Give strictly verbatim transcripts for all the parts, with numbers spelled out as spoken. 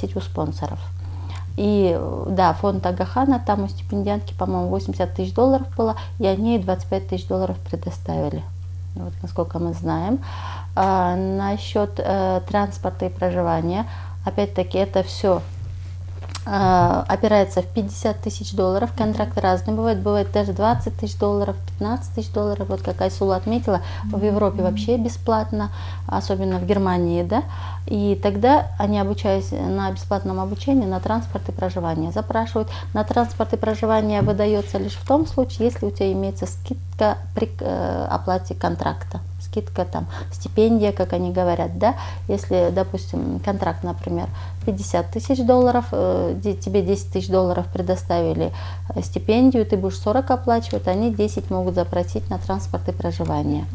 просить у спонсоров. И да, фонд Агахана, там у стипендиантки, по-моему, восемьдесят тысяч долларов было, и они двадцать пять тысяч долларов предоставили, вот, насколько мы знаем. А, насчет э, транспорта и проживания, опять-таки, это все э, опирается в пятьдесят тысяч долларов, контракты разные бывают, бывает даже двадцать тысяч долларов, пятнадцать тысяч долларов, вот как Айсула отметила, в Европе вообще бесплатно, особенно в Германии, да, и тогда они, обучаясь на бесплатном обучении, на транспорт и проживание, запрашивают. На транспорт и проживание выдается лишь в том случае, если у тебя имеется скидка при э, оплате контракта. Скидка, там, стипендия, как они говорят, да, если, допустим, контракт, например, пятьдесят тысяч долларов, э, тебе десять тысяч долларов предоставили стипендию, ты будешь сорок оплачивать, они десять могут запросить на транспорт и проживание.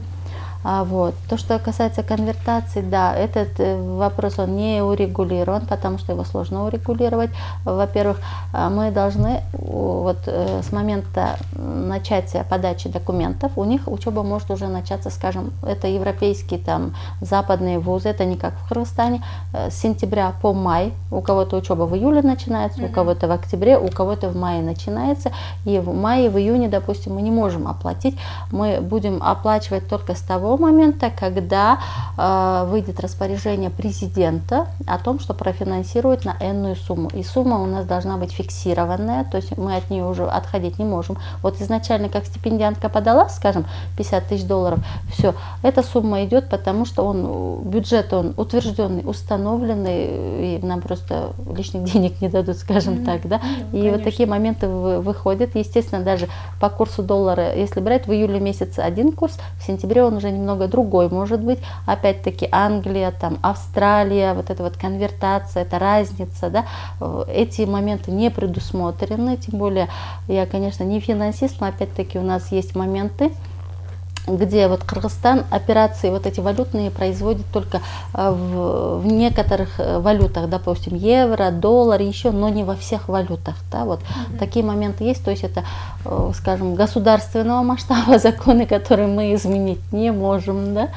А вот. То, что касается конвертации, да, этот вопрос, он не урегулирован, потому что его сложно урегулировать. Во-первых, мы должны вот с момента начатия подачи документов, у них учеба может уже начаться, скажем, это европейские, там, западные вузы, это не как в Кыргызстане, с сентября по май, у кого-то учеба в июле начинается, mm-hmm. у кого-то в октябре, у кого-то в мае начинается, и в мае, в июне, допустим, мы не можем оплатить, мы будем оплачивать только с того момента, когда э, выйдет распоряжение президента о том, что профинансирует на энную сумму. И сумма у нас должна быть фиксированная, то есть мы от нее уже отходить не можем. Вот изначально, как стипендиантка подала, скажем, пятьдесят тысяч долларов, все, эта сумма идет, потому что он, бюджет он утвержденный, установленный, и нам просто лишних денег не дадут, скажем mm-hmm. так, да. Mm-hmm, и конечно. Вот такие моменты выходят. Естественно, даже по курсу доллара, если брать в июле месяце один курс, в сентябре он уже немного другой может быть. Опять-таки Англия, там, Австралия, вот эта вот конвертация, это разница, да, эти моменты не предусмотрены, тем более я, конечно, не финансист, но опять-таки у нас есть моменты, где вот Кыргызстан операции вот эти валютные производит только в, в некоторых валютах, допустим, евро, доллар, еще, но не во всех валютах, да, вот mm-hmm. такие моменты есть, то есть это, скажем, государственного масштаба законы, которые мы изменить не можем, да,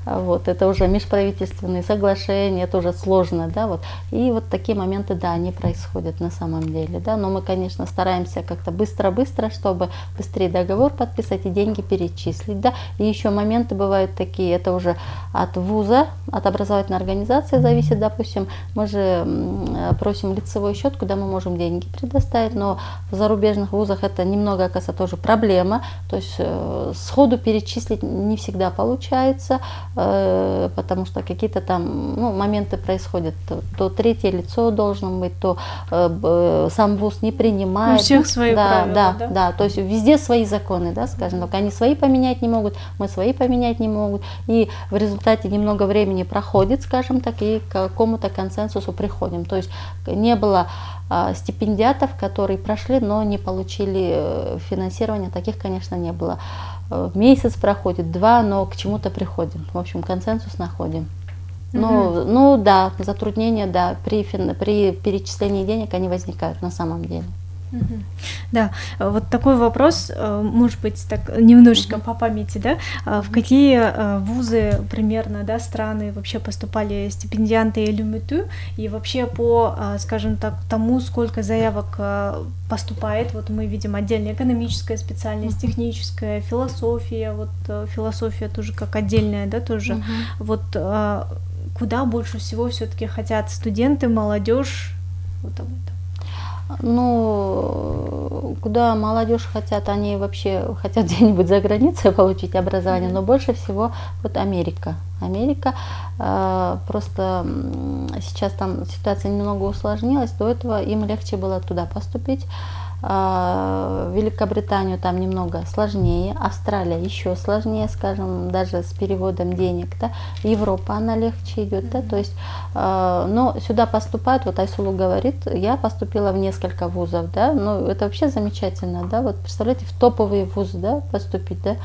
вот, это уже межправительственные соглашения, это уже сложно, да, вот, и вот такие моменты, да, они происходят на самом деле, да, но мы, конечно, стараемся как-то быстро-быстро, чтобы быстрее договор подписать и деньги перечислить, да. И еще моменты бывают такие, это уже от вуза, от образовательной организации зависит, допустим, мы же просим лицевой счет, куда мы можем деньги предоставить, но в зарубежных вузах это немного, оказывается, тоже проблема, то есть э, сходу перечислить не всегда получается, э, потому что какие-то там, ну, моменты происходят, то, то третье лицо должно быть, то э, сам вуз не принимает. У всех свои да, правила, да, да? Да, то есть везде свои законы, да, скажем, только они свои поменять не могут, мы свои поменять не могут, и в результате немного времени проходит, скажем так, и к какому-то консенсусу приходим. То есть не было а, стипендиатов, которые прошли, но не получили финансирование, таких, конечно, не было. Месяц проходит, два, но к чему-то приходим, в общем, консенсус находим. Ну, mm-hmm. ну да, затруднения, да, при, при перечислении денег они возникают на самом деле. Да, вот такой вопрос, может быть, так немножечко по памяти, да, в какие вузы примерно, да, страны вообще поступали стипендианты ЛЮМИТУ, и вообще по, скажем так, тому, сколько заявок поступает, вот мы видим отдельная экономическая специальность, техническая, философия, вот философия тоже как отдельная, да, тоже, uh-huh. вот куда больше всего все-таки хотят студенты, молодежь, вот об этом. Ну, куда молодежь хотят, они вообще хотят где-нибудь за границей получить образование, mm-hmm. но больше всего вот Америка. Америка, э, просто сейчас там ситуация немного усложнилась, до этого им легче было туда поступить. В Великобританию там немного сложнее, Австралия еще сложнее, скажем, даже с переводом денег, да. Европа, она легче идет, да, то есть, но сюда поступают, вот Айсулу говорит, я поступила в несколько вузов, да, ну это вообще замечательно, да, вот представляете, в топовые вузы, да, поступить, да,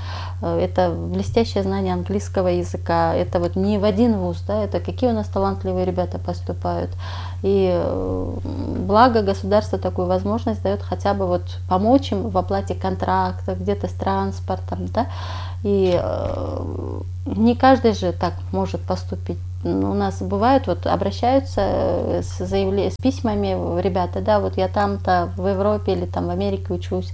это блестящее знание английского языка, это вот не в один вуз, да, это какие у нас талантливые ребята поступают, И благо государство такую возможность дает хотя бы вот помочь им в оплате контракта, где-то с транспортом, да. И не каждый же так может поступить. У нас бывает, вот обращаются с заявлением, с письмами ребята, да, вот я там-то в Европе или там в Америке учусь,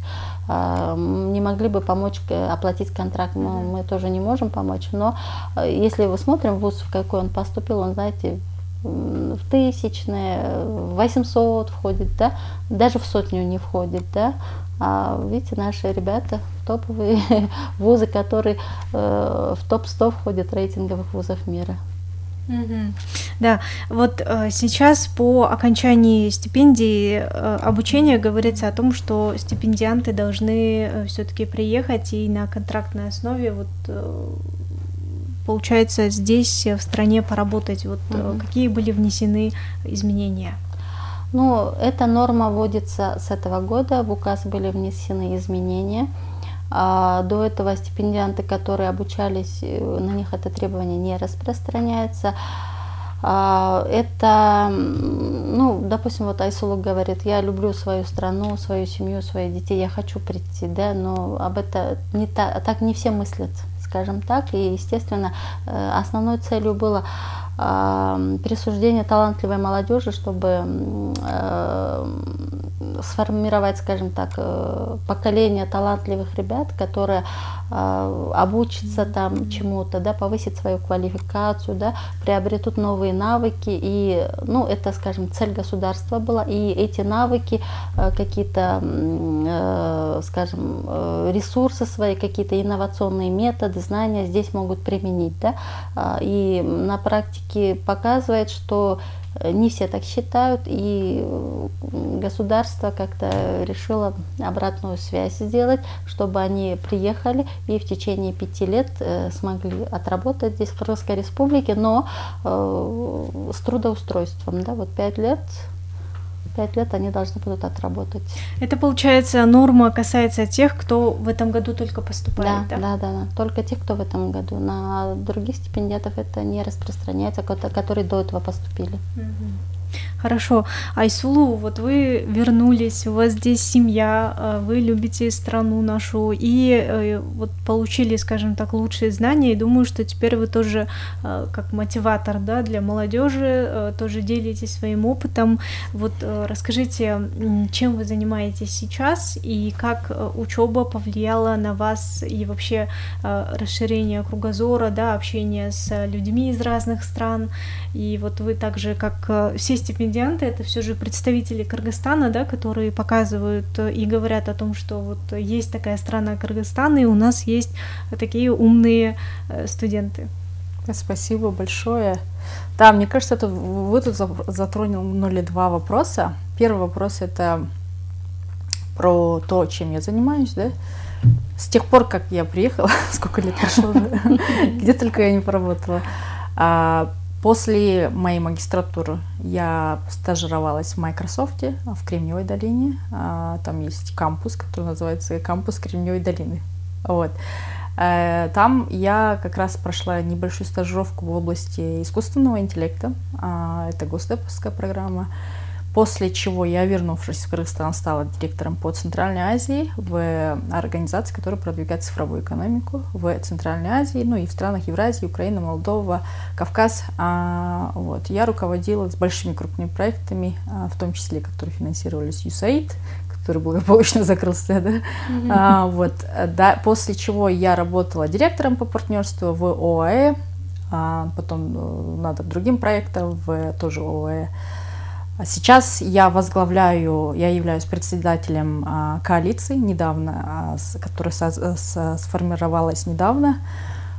не могли бы помочь оплатить контракт, мы, мы тоже не можем помочь, но если вы смотрим вуз, в какой он поступил, он, знаете, в тысячные, в восемьсот входит, да, даже в сотню не входит, да. А видите, наши ребята топовые вузы, которые э, в топ сто входят рейтинговых вузов мира. Mm-hmm. Да, вот э, сейчас по окончании стипендии э, обучения говорится о том, что стипендианты должны э, все-таки приехать и на контрактной основе вот э, получается здесь в стране поработать. Вот mm-hmm. э, какие были внесены изменения? Ну, эта норма вводится с этого года, в указ были внесены изменения. А до этого стипендианты, которые обучались, на них это требование не распространяется. А это, ну, допустим, вот Айсулу говорит, я люблю свою страну, свою семью, своих детей, я хочу прийти, да, но об этом не та, так не все мыслят, скажем так. И, естественно, основной целью было присуждение талантливой молодежи, чтобы э, сформировать, скажем так, поколение талантливых ребят, которые э, обучатся там чему-то, да, повысить свою квалификацию, да, приобретут новые навыки. И, ну, это, скажем, цель государства была. И эти навыки, э, какие-то, э, скажем, э, ресурсы свои, какие-то инновационные методы, знания здесь могут применить, да. И на практике показывает, что не все так считают, и государство как-то решило обратную связь сделать, чтобы они приехали и в течение пяти лет смогли отработать здесь в Кыргызской республике, но с трудоустройством, да, вот пять лет. Пять лет они должны будут отработать. Это, получается, норма касается тех, кто в этом году только поступает, да? Да, да, да. Только тех, кто в этом году. На других стипендиатов это не распространяется, которые до этого поступили. Угу. Хорошо. Айсулу, вот вы вернулись, у вас здесь семья, вы любите страну нашу и вот получили, скажем так, лучшие знания, и думаю, что теперь вы тоже как мотиватор, да, для молодежи тоже делитесь своим опытом. Вот расскажите, чем вы занимаетесь сейчас и как учеба повлияла на вас и вообще расширение кругозора, да, общение с людьми из разных стран. И вот вы также, как все стипендианты, это все же представители Кыргызстана, да, которые показывают и говорят о том, что вот есть такая страна Кыргызстан, и у нас есть такие умные студенты. Спасибо большое. Да, мне кажется, это вы тут затронули два вопроса. Первый вопрос — это про то, чем я занимаюсь, да. С тех пор, как я приехала, сколько лет прошло уже, где только я не поработала. После моей магистратуры я стажировалась в Microsoft в Кремниевой долине. Там есть кампус, который называется кампус Кремниевой долины. Вот. Там я как раз прошла небольшую стажировку в области искусственного интеллекта. Это госдеповская программа. После чего я, вернувшись в Кыргызстан, стала директором по Центральной Азии в организации, которая продвигает цифровую экономику в Центральной Азии, ну и в странах Евразии, Украина, Молдова, Кавказ. Вот. Я руководила с большими крупными проектами, в том числе, которые финансировались ю эс эй ай ди, который благополучно закрылся. Да? Mm-hmm. А, вот, да, после чего я работала директором по партнерству в о а э, а потом над другим проектом в тоже о а э. Сейчас я возглавляю, я являюсь председателем а, коалиции, недавно, а, с, которая со, с, сформировалась недавно.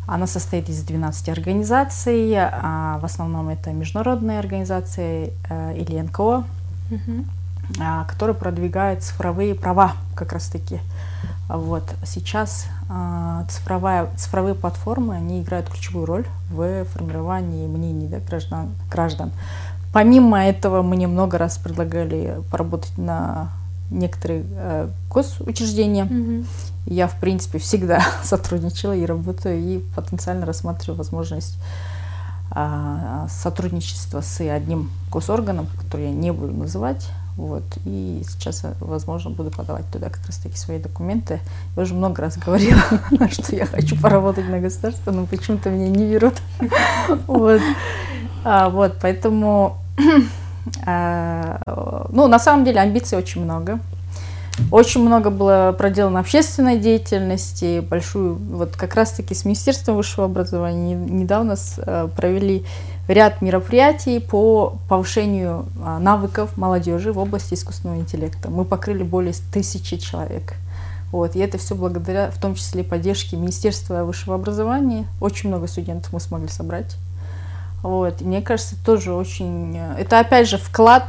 Она состоит из двенадцати организаций, а, в основном это международные организации а, или эн ка о, mm-hmm. а, которые продвигают цифровые права как раз-таки. Вот. Сейчас а, цифровая, цифровые платформы, они играют ключевую роль в формировании мнений, да, граждан, граждан. Помимо этого, мне много раз предлагали поработать на некоторые э, госучреждения. Mm-hmm. Я, в принципе, всегда сотрудничала и работаю, и потенциально рассматриваю возможность сотрудничество с одним госорганом, который я не буду называть. Вот. И сейчас, возможно, буду подавать туда как раз-таки свои документы. Я уже много раз говорила, что я хочу поработать на государство, но почему-то меня не берут. Вот. Вот, поэтому, ну, на самом деле амбиций очень много. Очень много было проделано общественной деятельности, большую, вот как раз-таки с Министерством высшего образования недавно провели ряд мероприятий по повышению навыков молодежи в области искусственного интеллекта. Мы покрыли более тысячи человек. Вот, и это все благодаря, в том числе, поддержке Министерства высшего образования. Очень много студентов мы смогли собрать. Вот, и мне кажется, тоже очень... Это, опять же, вклад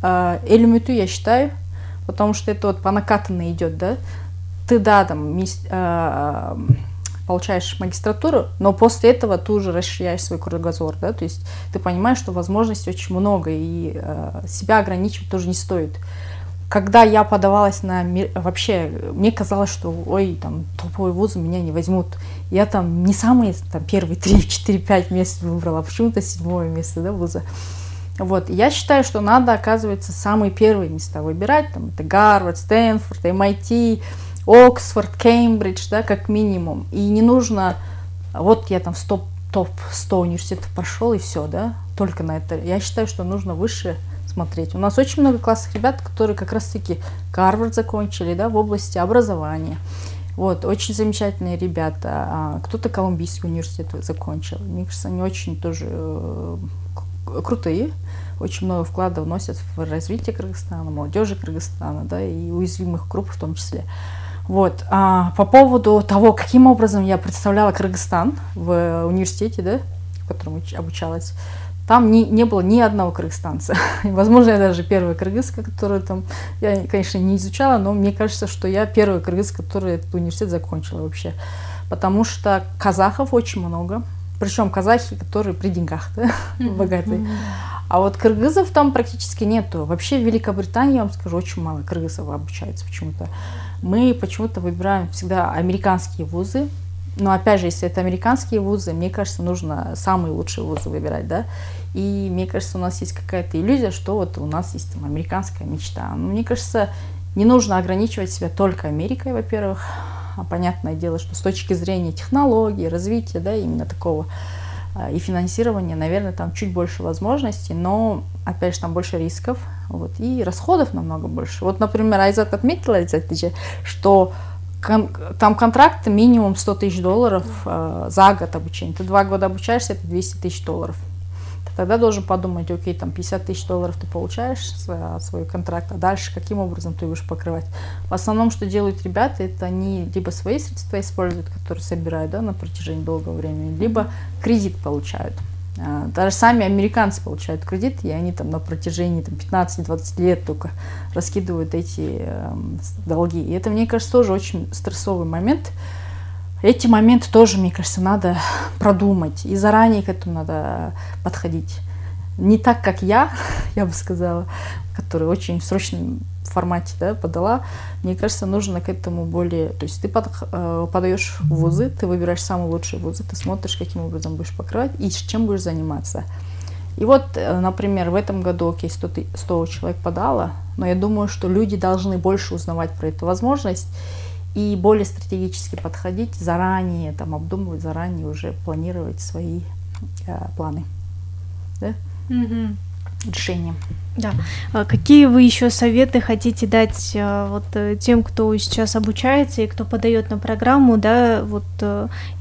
Элюмүтү, я считаю, потому что это вот по накатанной идет, да. Ты, да, там, получаешь магистратуру, но после этого ты уже расширяешь свой кругозор, да, то есть ты понимаешь, что возможностей очень много, и э, себя ограничивать тоже не стоит. Когда я подавалась на... Вообще, мне казалось, что, ой, там, топовые вузы меня не возьмут. Я там не самые, там, первые три, четыре, пять мест выбрала, а почему-то седьмое место, да, вуза. Вот, я считаю, что надо, оказывается, самые первые места выбирать, там, это Гарвард, Стэнфорд, эм ай ти, Оксфорд, Кембридж, да, как минимум. И не нужно, вот я там в топ сто университетов прошел, и все, да, только на это. Я считаю, что нужно выше смотреть. У нас очень много классных ребят, которые как раз-таки Гарвард закончили, да, в области образования. Вот, очень замечательные ребята. Кто-то Колумбийский университет закончил. Мне кажется, они очень тоже э, крутые. Очень много вклада вносят в развитие Кыргызстана, молодежи Кыргызстана, да, и уязвимых групп в том числе. Вот. А по поводу того, каким образом я представляла Кыргызстан в университете, да, в котором обучалась, там не, не было ни одного кыргызстанца. Возможно, я даже первая кыргызка, которую там, я, конечно, не изучала, но мне кажется, что я первая кыргызка, которая этот университет закончила вообще. Потому что казахов очень много. Причем казахи, которые при деньгах, да, богатые. А вот кыргызов там практически нету. Вообще в Великобритании, я вам скажу, очень мало кыргызов обучается почему-то. Мы почему-то выбираем всегда американские вузы. Но опять же, если это американские вузы, мне кажется, нужно самые лучшие вузы выбирать, да. И мне кажется, у нас есть какая-то иллюзия, что вот у нас есть там американская мечта. Но мне кажется, не нужно ограничивать себя только Америкой, во-первых. А понятное дело, что с точки зрения технологий, развития, да, именно такого и финансирования, наверное, там чуть больше возможностей, но, опять же, там больше рисков, вот, и расходов намного больше. Вот, например, Айзат отметила, что кон- там контракт минимум сто тысяч долларов э, за год обучения. Ты два года обучаешься, это двести тысяч долларов. Ты тогда должен подумать, окей, там пятьдесят тысяч долларов ты получаешь за свой контракт, а дальше каким образом ты будешь покрывать. В основном, что делают ребята, это они либо свои средства используют, которые собирают, да, на протяжении долгого времени, либо кредит получают. Даже сами американцы получают кредит, и они там на протяжении там, пятнадцать-двадцать лет только раскидывают эти э, долги. И это, мне кажется, тоже очень стрессовый момент. Эти моменты тоже, мне кажется, надо продумать, и заранее к этому надо подходить. Не так, как я, я бы сказала, которая очень в срочном формате, да, подала. Мне кажется, нужно к этому более... То есть ты под, э, подаешь в вузы, ты выбираешь самые лучшие вузы, ты смотришь, каким образом будешь покрывать и чем будешь заниматься. И вот, например, в этом году, окей, сто, сто человек подало, но я думаю, что люди должны больше узнавать про эту возможность и более стратегически подходить, заранее, там, обдумывать, заранее уже планировать свои э, планы, да? Mm-hmm. Решения. Да. А какие вы еще советы хотите дать вот тем, кто сейчас обучается и кто подает на программу, да, вот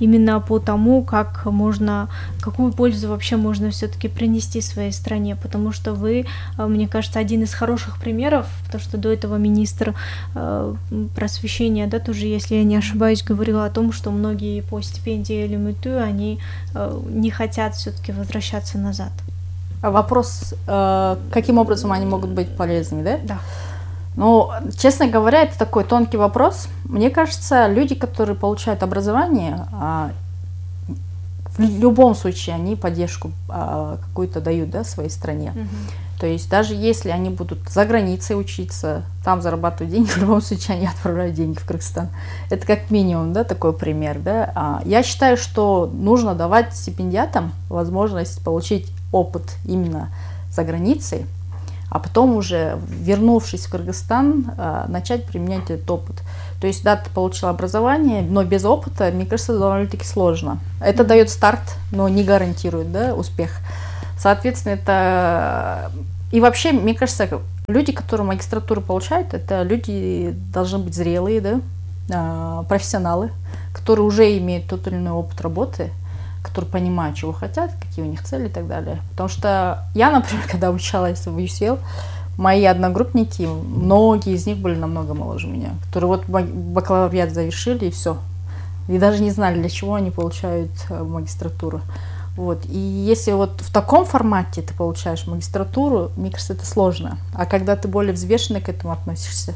именно по тому, как можно, какую пользу вообще можно все-таки принести своей стране, потому что вы, мне кажется, один из хороших примеров, потому что до этого министр просвещения, да, тоже, если я не ошибаюсь, говорил о том, что многие по стипендии Элюмүтү, они не хотят все-таки возвращаться назад. Вопрос, э, каким образом они могут быть полезными, да? Да. Ну, честно говоря, это такой тонкий вопрос. Мне кажется, люди, которые получают образование, э, в любом случае они поддержку э, какую-то дают, да, своей стране. Mm-hmm. То есть даже если они будут за границей учиться, там зарабатывать деньги, в любом случае они отправляют деньги в Кыргызстан. Это как минимум, да, такой пример, да. А я считаю, что нужно давать стипендиатам возможность получить опыт именно за границей, а потом уже, вернувшись в Кыргызстан, начать применять этот опыт. То есть, да, ты получил образование, но без опыта, мне кажется, довольно-таки сложно. Это дает старт, но не гарантирует, да, успех. Соответственно, это... И вообще, мне кажется, люди, которые магистратуру получают, это люди должны быть зрелые, да, профессионалы, которые уже имеют тот или иной опыт работы, которые понимают, чего хотят, какие у них цели и так далее. Потому что я, например, когда обучалась в ю си эл, мои одногруппники, многие из них были намного моложе меня, которые вот бакалавриат завершили и все. И даже не знали, для чего они получают магистратуру. Вот. И если вот в таком формате ты получаешь магистратуру, мне кажется, это сложно. А когда ты более взвешенно к этому относишься,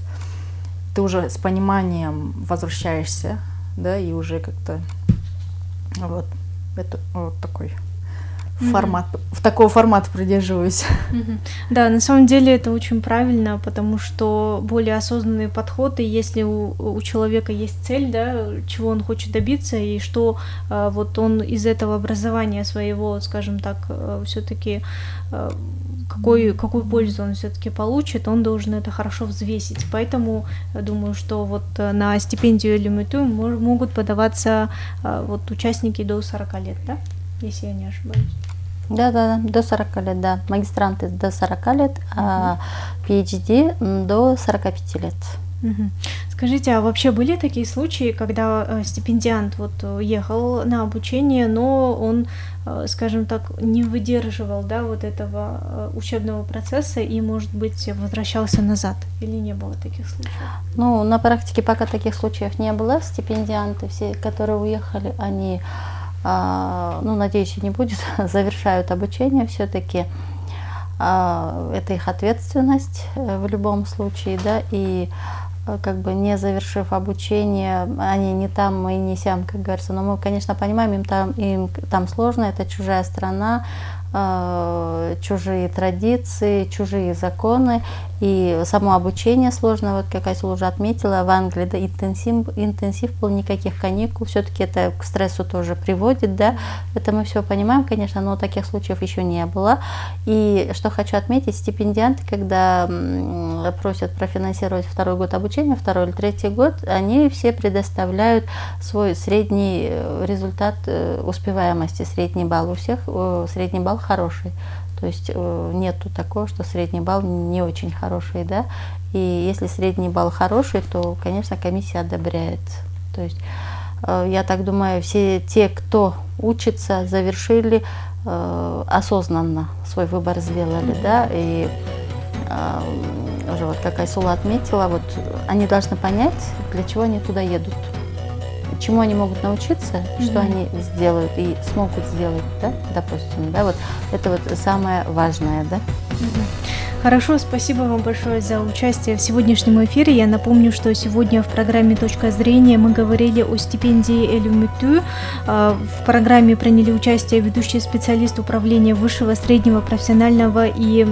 ты уже с пониманием возвращаешься, да, и уже как-то вот, это вот такой формат, mm-hmm. в такого формата придерживаюсь. Mm-hmm. Да, на самом деле это очень правильно, потому что более осознанный подход, и если у, у человека есть цель, да, чего он хочет добиться, и что а, вот он из этого образования своего, скажем так, а, все-таки а, какой, какую пользу он все-таки получит, он должен это хорошо взвесить. Поэтому я думаю, что вот на стипендию ЛЮМИТУ могут подаваться а, вот участники до сорока лет, да, если я не ошибаюсь. Да, да, да, до сорока лет, да. Магистранты до сорока лет, а пи эйч ди до сорока пяти лет. Угу. Скажите, а вообще были такие случаи, когда стипендиант вот ехал на обучение, но он, скажем так, не выдерживал, да, вот этого учебного процесса и, может быть, возвращался назад? Или не было таких случаев? Ну, на практике пока таких случаев не было. Стипендианты, все, которые уехали, они... ну, надеюсь, и не будет, завершают обучение все-таки. Это их ответственность в любом случае, да, и как бы не завершив обучение, они не там и не сям, как говорится, но мы, конечно, понимаем, им там, им там сложно, это чужая страна, чужие традиции, чужие законы, и само обучение сложно, вот как Айсулу уже отметила, в Англии, да, интенсив, интенсив был, никаких каникул, все-таки это к стрессу тоже приводит, да, это мы все понимаем, конечно, но таких случаев еще не было. И что хочу отметить, стипендианты, когда просят профинансировать второй год обучения, второй или третий год, они все предоставляют свой средний результат успеваемости, средний балл у всех, средний балл хороший. То есть нету такого, что средний балл не очень хороший, да. И если средний балл хороший, то, конечно, комиссия одобряет. То есть я так думаю, все те, кто учится, завершили, осознанно свой выбор сделали, да. И уже вот как Айсула отметила, вот они должны понять, для чего они туда едут. Чему они могут научиться, mm-hmm. что они сделают и смогут сделать, да, допустим, да, вот это вот самое важное, да. Mm-hmm. Хорошо, спасибо вам большое за участие в сегодняшнем эфире. Я напомню, что сегодня в программе «Точка зрения» мы говорили о стипендии ЛЮМИТУ. В программе приняли участие ведущий специалист управления высшего, среднего, профессионального и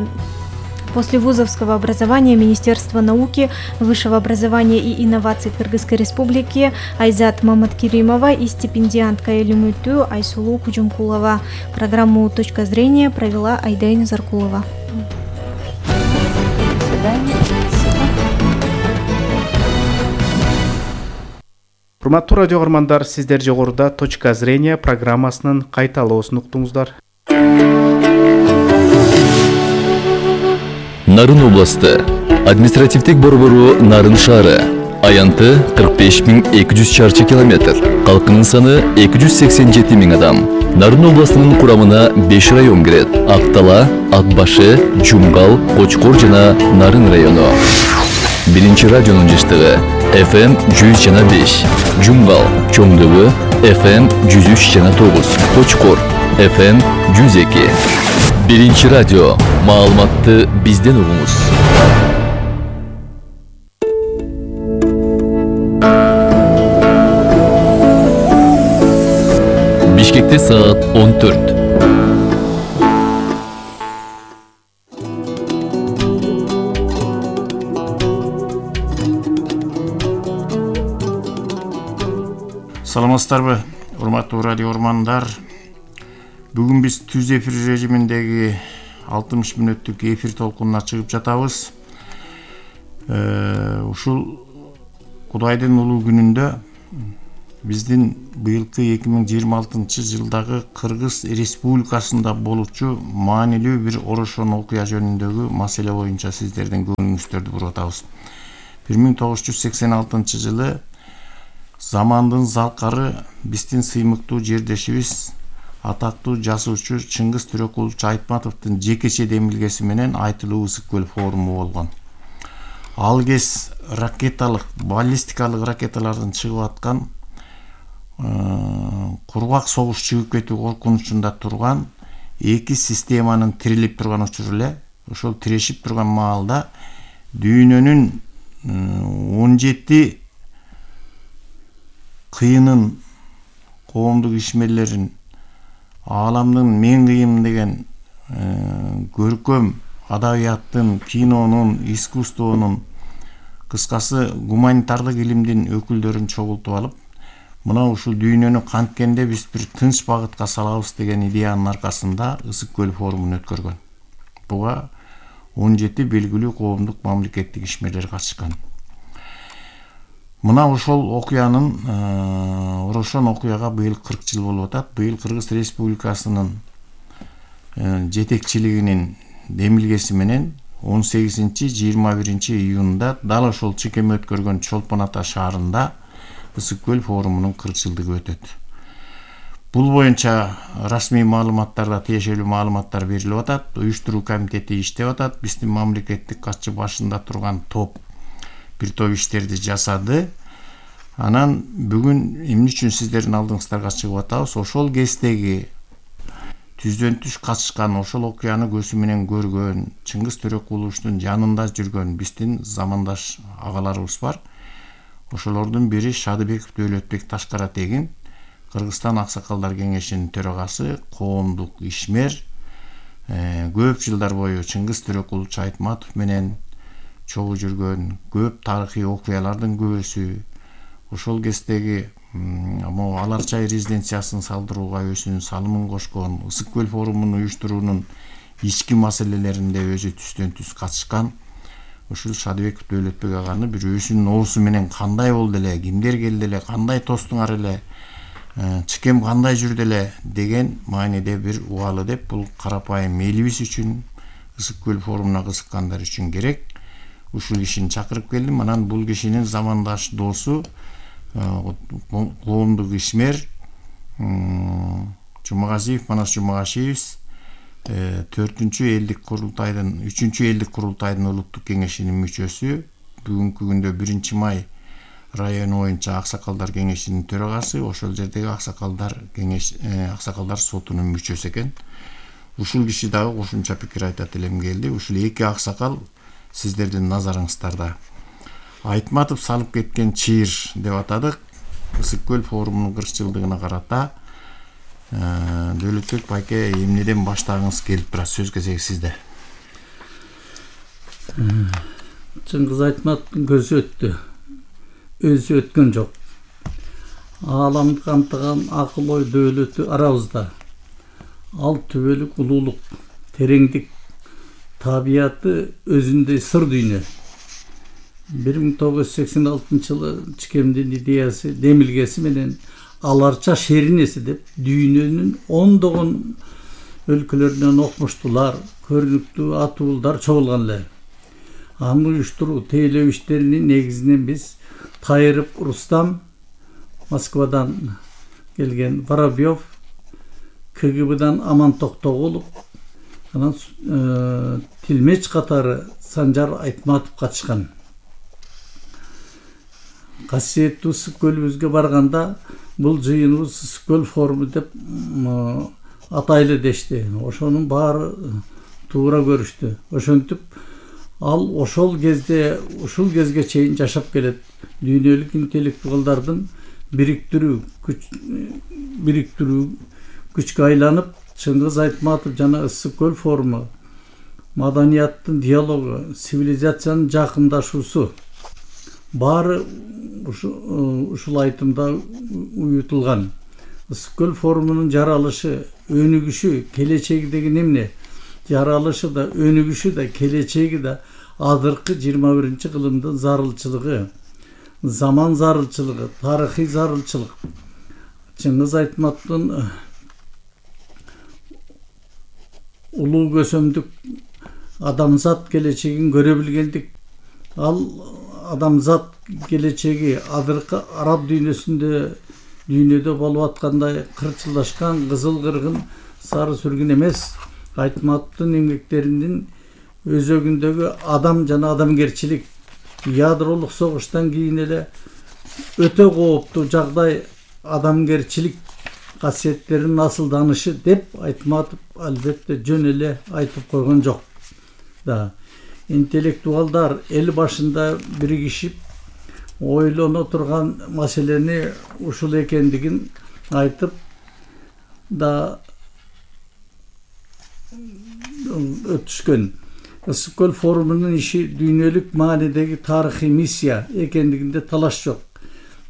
послевузовского образования Министерства науки, высшего образования и инноваций Кыргызской Республики Айзат Маматкеримова и стипендиантка ЛЮМИТУ Айсулу Кужумкулова. Программу «Точка зрения» провела Айдайна Заркулова. До свидания. Урматтуу радио көрөрмандар, сиздер жогоруда «Точка зрения» программасынын кайталоосун уктуңуздар. Нарын областы, административдик борбору Нарын шаары, аянты кырк беш миң эки жүз чарчы километр, калкынын саны эки жүз сексен жети миң адам. Нарын областынын курамына беш район кирет: Актала, Атбашы, Жумгал, Кочкор жана Нарын району. Биринчи радионун жыштыгы эф эм жүз жана беш, Жумгал, Чоңдөбө эф эм жүз үч жана тогуз, Кочкор эф эм жүз эки. Биринчи радио, маалыматты бизден угуңуз. Бишкекте саат он төрт. Саламатсыздарбы, урматтуу радио урмандар. Бүгүн биз түз эфир режиминдеги алтымыш мүнөттүк эфир толкунуна чыгып жатабыз. Ушул Кудайдын улуу күнүндө биздин быйылкы эки миң жыйырма алтынчы жылдагы Кыргыз Республикасында болучу маанилүү бир орошон окуя жөнүндөгү маселе боюнча сиздердин көңүлүңүздөрдү буруп атабыз. бир миң тогуз жүз сексен алтынчы жылы замандын залкары биздин сыймыктуу жердешибиз атактуу жазуучу Чыңгыз Төрөкулович Айтматовдун жекече демилгеси менен Айтылуу ысык көл форуму болгон. Ал кез ракеталык, баллистикалык ракеталардын чыгып аткан кургак согуш чыгып кетүү коркунучунда турган эки системанын тирилип турган учуру эле, ошол тирешип турган маалда дүйнөнүн он жети кыйынын, коомдук ишмерлерин, ааламдын мен кыйын деген көркөм адабияттын, кинонун, искусствонун, кыскасы гуманитардык илимдин өкүлдөрүн чогултуп алып, мына ушул дүйнөнү канткенде биз бир тынч багытка салабыз деген идеянын аркасында ысык көл форумун өткөргөн. Буга он жети белгилүү коомдук мамлекеттик ишмерлер катышкан. Мына ошол окуянын, орошон окуяга быйыл кырк жыл болуп атат. Быйыл Кыргыз Республикасынын жетекчилигинин демилгеси менен он сегизинчи жыйырма биринчи июнда дал ошол чекеме өткөргөн Чолпон Ата шаарында ысык көл форумунун кырк жылдыгы өтөт. Бул боюнча расмий маалыматтарда тиешелүү маалыматтар берилип атат. Уюштуруу комитети иштеп атат. Биздин мамлекеттик катчы башында турган топ бир топ иштерди жасады. Анан бүгүн эмне үчүн сиздердин алдыңыздарга чыгып атабыз? Ошол кездеги түздөн түз катышкан, ошол окуяны көзү менен көргөн, Чыңгыз Төрөкуловичтун жанында жүргөн биздин замандаш агаларыбыз бар. Ошолордун бири Шадыбеков Дөөлөтбек Ташкаратегин, Кыргызстан Аксакалдар кеңешинин төрагасы, коомдук ишмер, көп жылдар бою Чыңгыз Төрөкулович Айтматов менен чогуу жүргөн, көп тарыхый окуялардын күбөсү. Ошол кездеги могу Алар чай резиденциясын салдырууга өзүнүн салымын кошкон, ысык көл форумун уюштуруунун ички маселелеринде өзү түздөн түз катышкан. Ушул Шадыбеков Дөөлөтбек аганы бир өзүнүн оозу менен кандай болду эле, кимдер келди эле, кандай тостуңар эле, чыкем кандай жүрдү эле деген мааниде бир убалы деп, бул карапайым элибиз үчүн, ысык көл форумуна кызыккандар үчүн керек. Ушул кишини чакырып келдим. Анан бул кишинин замандаш досу, коомдук ишмер Жумагазиев Манас Жумагашиевич төртүнчү элдик курултайдын, үчүнчү элдик курултайдын улуттук кеңешинин мүчөсү, бүгүнкү күндө биринчи май району боюнча Аксакалдар кеңешинин төрагасы, ошол жердеги Аксакалдар кеңеш Аксакалдар сотунун мүчөсү экен. Ушул киши дагы кошумча пикир айтат элем келди. Ушул эки аксакал сиздердин назарыңыздарда. Айтматов салып кеткен чыйыр деп атадык. Ысык көл форумунун кырк жылдыгына карата Дөөлөтбек байке эмнеден баштагыңыз келип турат? Сөз кезеги сизде. Чыңгыз Айтматовдун көзү өттү. Өзү өткөн жок. Ааламды камтыган акыл ой дөөлөтү арабызда. Ал түбөлүк улуулук, тереңдик, табияты өзүндөй сыр дүйнө. бир миң тогуз жүз сексен алтынчы жылы чекемдин идеясы, демилгеси менен Аларча шеринеси деп дүйнөнүн ондогон өлкөлөрүнөн окмуштуулар, көрүнүктүү атуулдар чогулган эле. Аны уюштуруу, тейлөө иштеринин негизинен биз Тайырып Рустам, Москвадан келген Воробьев, КГБдан Аман Токтогулов, анан Тилмеч катары Санжар Айтматов катышкан. Касиеттүү ысык көлүбүзгө барганда бул жыйыныбыз ысык көл форуму деп атайлы дешти. Ошонун баары туура көрүштү. Ошентип ал ошол кезде, ушул кезге чейин жашап келет. Дүйнөлүк интеллектуалдардын бириктирүү, күч бириктирүү күчкө айланып, Чыңгыз Айтматов жана ысык көл форуму маданияттын диалогу, цивилизациянын жакындашуусу, баары ушул айтымда уютулган. Ысык көл форумунун жаралышы, өнүгүшү, келечеги деген эмне? Жаралышы да, өнүгүшү да, келечеги да азыркы жыйырма биринчи кылымдын зарылчылыгы, заман зарылчылыгы, тарыхый зарылчылык. Чыңгыз Айтматовдун улуу көсөмдүк адамзат келечегин көрө билгендик. Ал адамзат келечеги азыркы араб дүйнөсүндө дүйнөдө болуп аткандай кырчылдашкан кызыл кыргын сары сүргүн эмес. Айтматовдун эмгектеринин өзөгүндөгү адам жана адамгерчилик, ядролук согуштан кийин эле өтө кооптуу жагдай адамгерчилик касиеттеринин асылданышы деп Айтматов албетте жөн эле айтып койгон жок. Да, интеллектуалдар эл башында биригишип ойлоно турган маселени ушул экендигин айтып да өтүшкөн. Ысык көл форумунун иши дүйнөлүк маанидеги тарыхый миссия экендигинде талаш жок.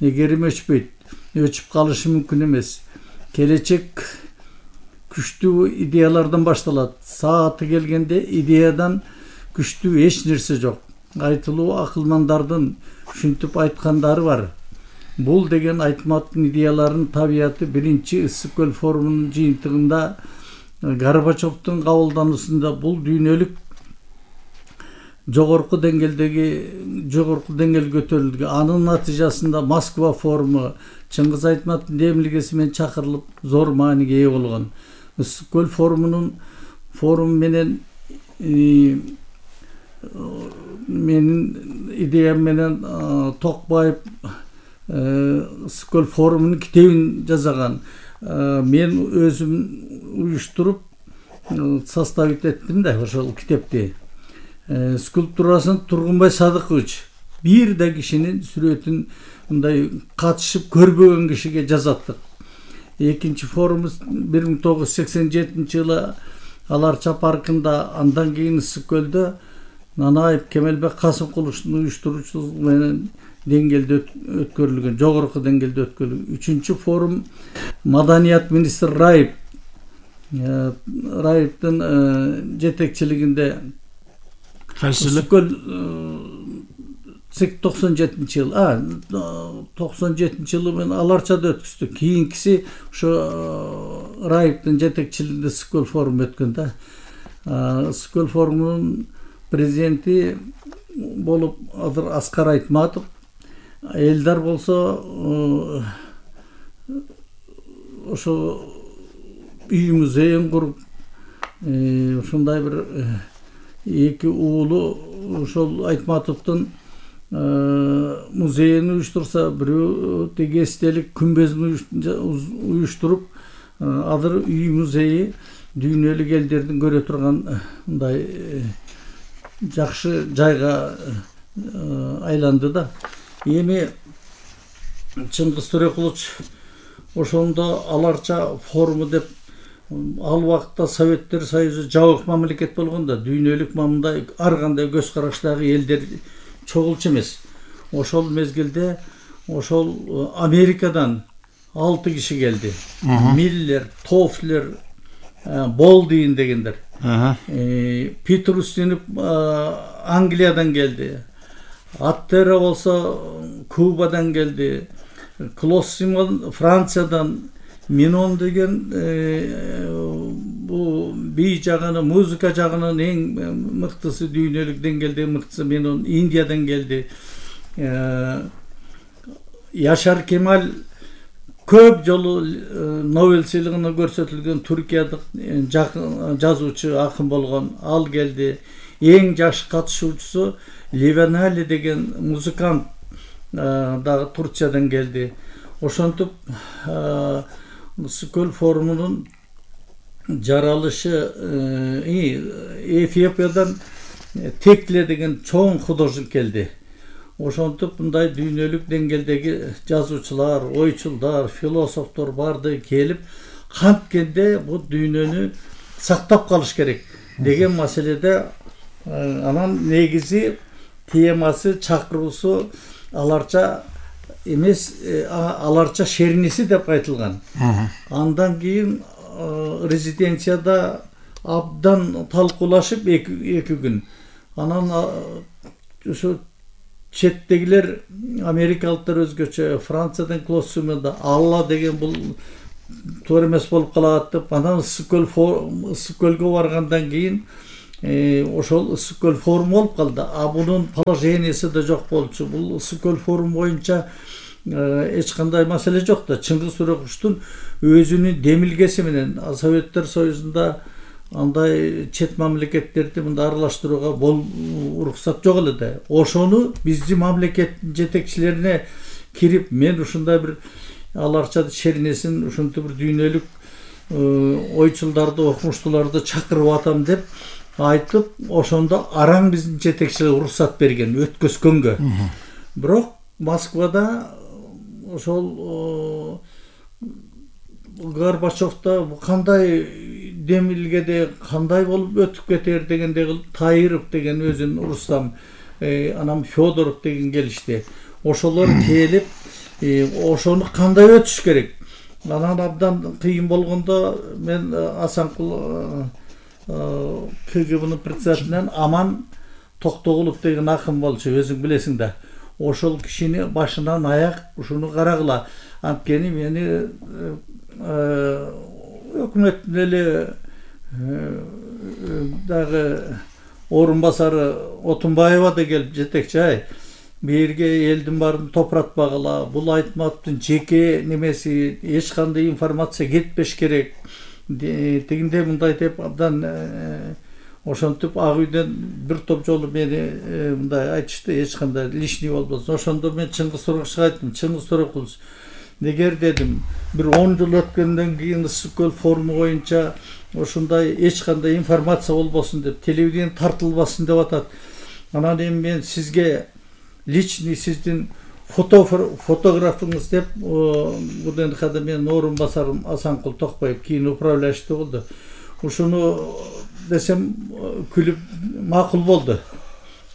Эгерим өчпөйт, өчүп калышы мүмкүн эмес. Келечек күчтүү идеялардан башталат. Сааты келгенде идеядан күчтүү эч нерсе жок. Айтылуу акылмандардын ушинтип айткандары бар. Бул деген Айтматовдун идеяларынын табияты биринчи Ысык көл форумунун жыйынтыгында Горбачевдун кабылдануусунда бул дүйнөлүк жогорку деңгээлдеги жогорку деңгээлге көтөрүлдү. Анын натыйжасында Москва форуму Чыңгыз Айтматовдун демилгеси менен чакырылып зор мааниге ээ болгон. Ысык көл форумунун форум менен менин идеям менен Токбаев Ысык көл форумунун китебин жазган. Мен өзүм уюштуруп составить эттим да ошол китепти. Скульптурасын Тургунбай Садыкович бир да кишинин сүрөтүн мындай катышып көрбөгөн кишиге жазаттык. Экинчи форумубуз бир миң тогуз жүз сексен жетинчи жылы Аларча паркында, андан кийин Ысык көлдө Нанаев Кемелбек Касымкуловдун уюштуруучулугу менен деңгээлде өткөрүлгөн, жогорку деңгээлде өткөрүлгөн. Үчүнчү форум Маданият министри Раев Раевдин жетекчилигинде Ысык көл токсон жетинчи жыл, а токсон жетинчи жылы мен Аларчада өткүздүк. Кийинкиси ошо Раевдин жетекчилигинде Ысык көл форуму өткөн да. Ысык көл форумунун президенти болуп азыр Аскар Айтматов. Элдар болсо ошо үй музейин куруп, ушундай бир эки уулу ошол Айтматовдун музейин уюштурса, бирөө теги эстелик күмбөзүн уюштуруп, азыр үй музейи дүйнөлүк элдердин көрө турган мындай жакшы жайга айланды да. Эми Чыңгыз Төрекулович ошондо Аларча форуму деп, ал убакта Советтер Союзу жабык мамлекет болгон да, дүйнөлүк мамындай ар кандай көз караштагы элдер чогулчу эмес. Ошол мезгилде ошол Америкадан алты киши келди. Миллер, Тофлер, Болдин дегендер. Питер Устинов Англиядан келди. Аттера болсо Кубадан келди. Клос Симон Франциядан, Минон деген бул бий жагына, музыка жагынан эң мыктысы, дүйнөлүк деңгээлде мыктысы Минон Индиядан келди. Яшар Кемал көп жолу Нобель сыйлыгына көрсөтүлгөн туркиядык жазуучу, акын болгон, ал келди. Эң жаш катышуучусу Ливанали деген музыкант дагы Турциядан келди. Ошентип Ысык көл форумунун жаралышы Эфиопиядан Текле деген чоң художник келди. Ошентип мындай дүйнөлүк деңгээлдеги жазуучулар, ойчулдар, философтор барды келип, канткенде бул дүйнөнү сактап калыш керек деген маселеде анан негизи темасы, чакыруусу аларча эмес, аларча шерниси деп айтылган. Андан кийин резиденцияда абдан талкуулашып эки күн. Анан ошо четтегилер америкалыктар өзгөчө, Франциядан Клоссумда Алла деген бул туура эмес болуп калат деп, анан Ысык көлгө баргандан кийин ошол Ысык көл форуму болуп калды. А бунун положениясы да жок болчу. Бул Ысык көл форуму боюнча эч кандай маселе жок да. Чыңгыз Төрөкуловдун өзүнүн демилгеси менен Советтер Союзунда андай чет мамлекеттерди мындай аралаштырууга бол уруксат жок эле да. Ошону биздин мамлекеттин жетекчилерине кирип, мен ушундай бир аларча шернесин, ушунтип бир дүйнөлүк ойчулдарды, окумуштууларды чакырып атам деп айтып, ошондо араң биздин жетекчилер уруксат берген, өткөзгөнгө. Бирок Москвада ошол Горбачевда кандай демилгеде кандай болуп өтүп кетер дегендей кылып, Таиров деген өзүн Рустам, анан Федоров деген келишти. Ошолор келип, ошону кандай өтүш керек. Анан абдан кыйын болгондо мен Асанкул КГБнын председателинен Аман Токтогулов деген акын болчу, өзүң билесиң да. Ошол кишини башынан аяк ушуну карагыла. Анткени мени өкмөттүн эле дагы орун басары Отунбаева да келип жетекчи, ай берге элдин баарын топуратпагыла, бул айтматтын жеке немеси, эч кандай информация кетпеш керек, тигиндей мындай деп абдан ошентип ак үйдөн бир топ жолу мени мындай айтышты, эч кандай лишний болбосун. Ошондо мен Чыңгыз Төрөкуловго айттым, Чыңгыз Төрөкулов, эгер дедим бир он жыл өткөндөн кийин Ысык көл форуму боюнча ошондой эч кандай информация болбосун деп, телевидение тартылбасын деп атат. Анан эми мен сизге личный сиздин фотографыңыз деп, УДНХда менин орун басарым Асанкул Токпаев кийин управляющий болду. Ушуну десем күлүп макул болду.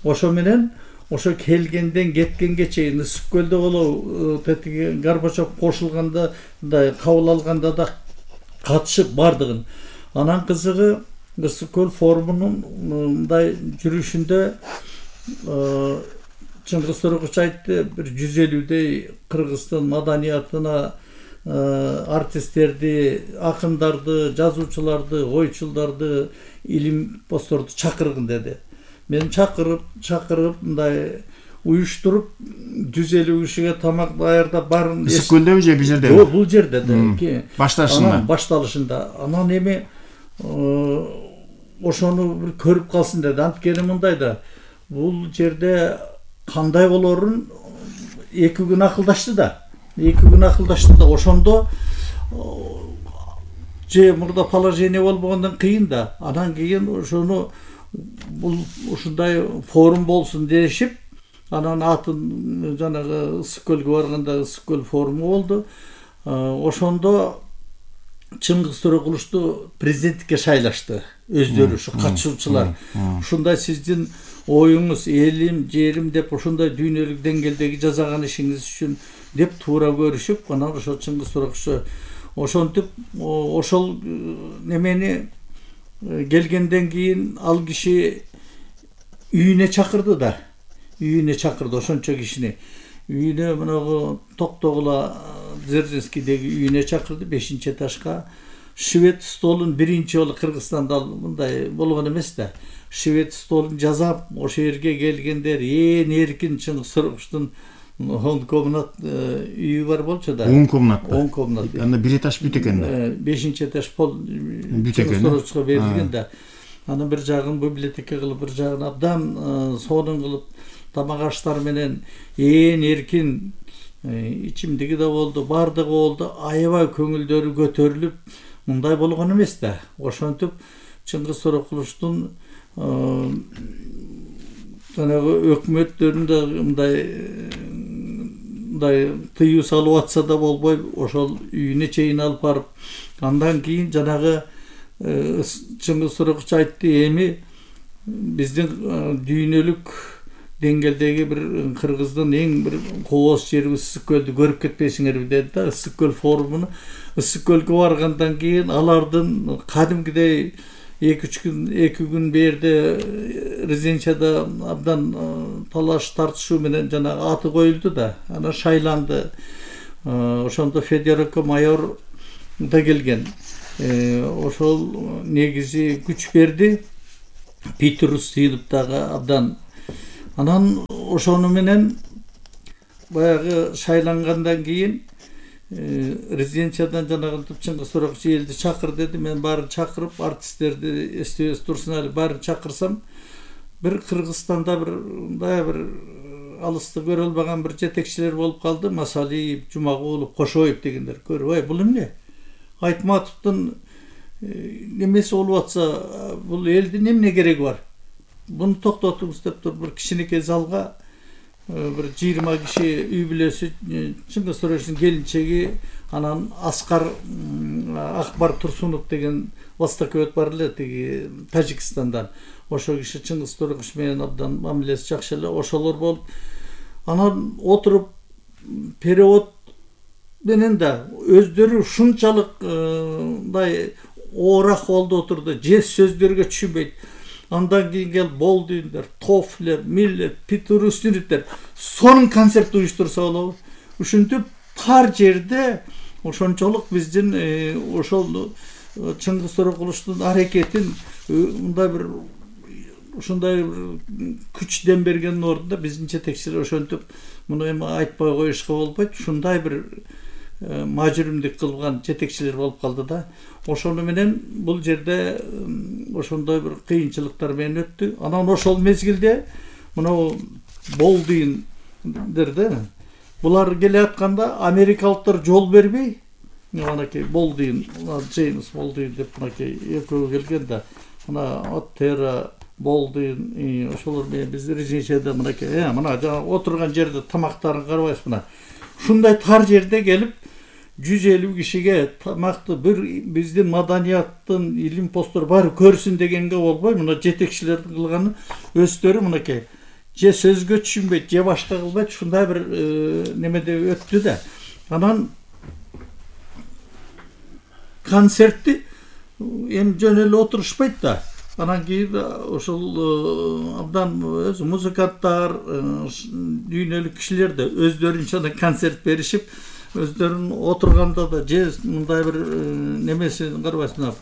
Ошо менен ошо келгенден кеткенге чейин Ысык көлдө болобу, тетиги Горбачев кошулганда да, кабыл алганда да катышып бардыгын. Анан кызыгы Ысык көл форумунун мындай жүрүшүндө Чыңгыз Төрөкулов айтты, бир жүз элүүдөй Кыргызстан маданиятына артисттерди, акындарды, жазуучуларды, ойчулдарды, илим постторду чакыргын деди. Мен чакырып, чакырып мындай уюштуруп жүз элүү кишиге тамак даярдап барын. Ысык көлдөбү же бул жердеби? Жок, бул жерде да. Башталышында. Башталышында. Анан эми ошону бир көрүп калсын деди. Анткени мындай да, бул жерде кандай болорун эки күн акылдашты да. Эки күн акылдашты да. Ошондо же мурда положение болбогондон кыйын да. Анан кийин ошону бул ушундай форум болсун дешип, анан атын жанагы Ысык көлгө барганда Ысык көл форуму болду. Ошондо Чыңгыз Төрөкуловду президенттикке шайлашты өздөрү, ушу катышуучулар. Ушундай сиздин оюңуз, элим, жерим деп ошондой дүйнөлүк деңгээлдеги жасаган ишиңиз үчүн деп туура көрүшүп, анан ошо Чыңгыз Төрөкулов ошентип ошол немени келгенден кийин ал киши үйүнө чакырды да. Үйүнө чакырды ошончо кишини. Үйүнө мынагы Токтогула Дзержинскийдеги үйүнө чакырды, бешинчи этажга. Швед столун биринчи жолу Кыргызстанда мындай болгон эмес да. Швед столун жасап, ошо жерге келгендер ээн эркин Чыңгыз Төрөкуловдун он комнат үйү бар болчу да. он комнат. он комнат. Анда бир этаж бүт экен да. бешинчи этаж пол бүт экен. Төрөкуловго берилген да. Анан бир жагын библиотека кылып, бир жагын абдан сонун кылып, тамак аштар менен ээн эркин ичимдиги да болду, бардыгы болду. Аябай көңүлдөрү көтөрүлүп, мындай болгон эмес да. Ошентип Чыңгыз Төрөкуловдун жанагы өкмөттөрүндө мындай мындай тыюу салып атса да болбой, ошол үйүнө чейин алып барып, андан кийин жанагы Чыңгыз Төрөкулов айтты, эми биздин дүйнөлүк деңгээлдеги бир Кыргыздын эң бир кооз жери Ысык көлдү көрүп кетпейсиңерби деди да. Ысык көл форумуну Ысык көлгө баргандан кийин алардын кадимкидей эки үч күн эки күн берде резиденцияда абдан талаш тартышуу менен жанагы аты коюлду да. Анан шайланды. Ошондо Федерико майор да келген. Ошол негизи күч берди. Питер Устинов дагы абдан. Анан ошону менен баягы шайлангандан кийин резиденциядан жанагы Чыңгыз Торокчу элди чакыр деди. Мен баарын чакырып, артисттерди эстебес турсун эле баарын чакырсам, бир Кыргызстанда бир мындай бир алысты көрө албаган бир жетекчилер болуп калды. Масалиев, Жумагулов, Кошоев дегендер. Көрүп, ой, бул эмне? Айтматовдун немеси болуп атса, бул элдин эмне кереги бар? Буну токтотуңуз деп туруп бир кичинекей залга бир жыйырма киши үй бүлөсү, Чыңгыз Торокчунун келинчеги, анан Аскар Акбар Турсунов деген востоковед бар эле тиги Тажикстандан. Ошо киши Чыңгыз Торокч менен абдан мамилеси жакшы эле, ошолор болуп, анан отуруп перевод менен да өздөрү ушунчалык мындай оор акыбалда отурду, же сөздөргө түшүнбөйт. Андан кийин кел Болдуйндер, Тофлер, Миллер, Питер Устиновдер сонун концерт уюштурса болобу. Ушинтип тар жерде ошончолук биздин ошол Чыңгыз Торокулуштун аракетин мындай бир ушундай күч дем бергендин ордунда биздин жетекчилер ошентип муну эми айтпай коюшка болбойт. Ушундай бир мажүрүмдүк кылган жетекчилер болуп калды да. Ошону менен бул жерде ошондой бир кыйынчылыктар менен өттү. Анан ошол мезгилде мына Болдуйндер да, булар келе атканда америкалыктар жол бербей, манакей Болдуйн, Джеймс Болдуйн деп манакей экөө келген да. Мына Оттера, Болдуйн, ошолор менен биз резиденцияда манакей, э, мына отурган жерде тамактарын карабайсыз мына. Ушундай тар жерде келип жүз элүү кишиге тамакты бир биздин маданияттын илим посттор баары көрсүн дегенге болбой, мына жетекчилердин кылганы өздөрү мынакей же сөзгө түшүнбөйт, же башка кылбайт, ушундай бир немеде өттү да. Анан концертти эми жөн эле отурушпайт да. Анан кийин ошол абдан өзү музыканттар, дүйнөлүк кишилер да өздөрүнчө концерт беришип, өздөрүн отурганда да же мындай бир немесин карабайсыңар,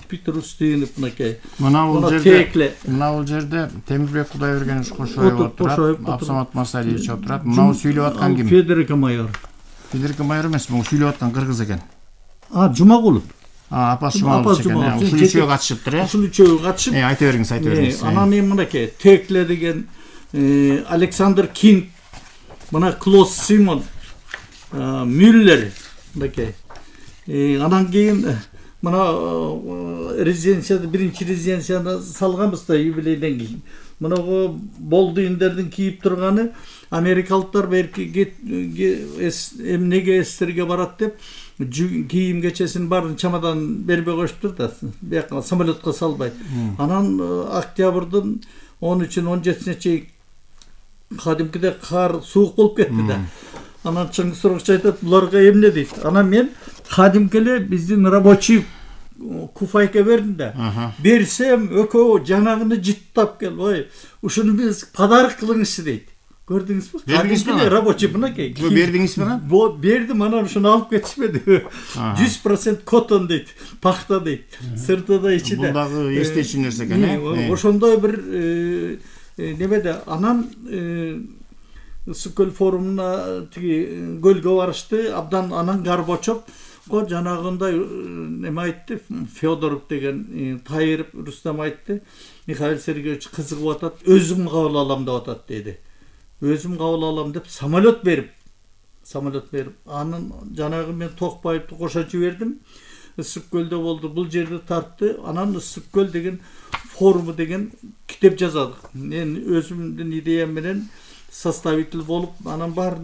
Питер Устинов мынакей. Мына бул жерде, мына бул жерде Темирбек Кудайбергенович Кошоев отурат, Абсамат Масалиевич отурат. Мына сүйлөп аткан ким? Федерико майор. Федерико майор эмес, бул сүйлөп аткан кыргыз экен. А, Жумагулов. А, апасы Жумагулов экен. Ушул үчөө катышыптыр, э? Ушул үчөө катышып. Э, айта бериңиз, айта бериңиз. Анан эми мынакей Текле деген Александр Кинг, мына Клос Симон, Мюллер мынакей. Анан кийин мына резиденцияда биринчи резиденцияны салганбыз да юбилейден кийин. Мына Болдуйндердин кийип турганы америкалыктар берки эмнеге эстерге барат деп кийим кечесин баарын чамадан бербей коюштур да, бияка самолетко салбай. Анан октябрдын он үчүнөн он жетисине чейин кадимкидей кар суук болуп кетти да. Анан Чыңгыз Торокчу айтат, буларга эмне дейт. Анан мен кадимки эле биздин рабочий куфайка бердим да. Берсем экөө жанагыны жыттап кел, ой, ушуну биз подарок кылыңызчы дейт. Көрдүңүзбү? Кадимки рабочий мынакей. Бу бердиңизби? Бу бердим, анан ушуну алып кетишмеди. жүз процент котон дейт, пахта дейт. Сыртыда ичиде. Бул дагы эстечү нерсе экен, э? Ошондой бир немеде анан Ысык көл форумуна тиги көлгө барышты, абдан анан Горбачев го жанагындай неме айтты, Федоров деген Тайыров Рустам айтты, Михаил Сергеевич кызыгып атат, өзүм кабыл алам деп атат деди. Өзүм кабыл алам деп самолет берип, самолет берип, анын жанагы мен Токпаевди кошо жибердим. Ысык көлдө болду, бул жерди тартты. Анан Ысык көл деген форуму деген китеп жаздык. Мен өзүмдүн идеям менен составитель болуп, анан бар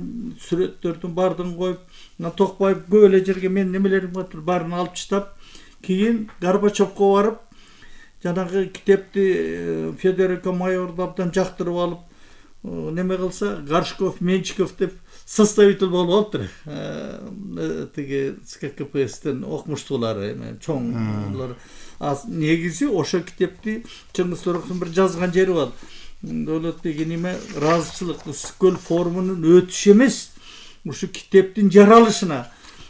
сүрөттөрдүн бардын коюп, Токпаев көп эле жерге мен немелерим бар, барын алып таштап, кийин Горбачевко барып, жанагы китепти Федерико майорду абдан жактырып алып, неме кылса Горшков, Менчиков деп составитель болуп алыптыр. Тиги СККПСтен окумуштуулары, эме чоңдулар. Негизи ошо китепти Чыңгыз Торокчун бир жазган жери бар. Дөлөт деген неме ыраазычылык Ысык-көл форумунун өтүшү эмес, ушу китептин жаралышына.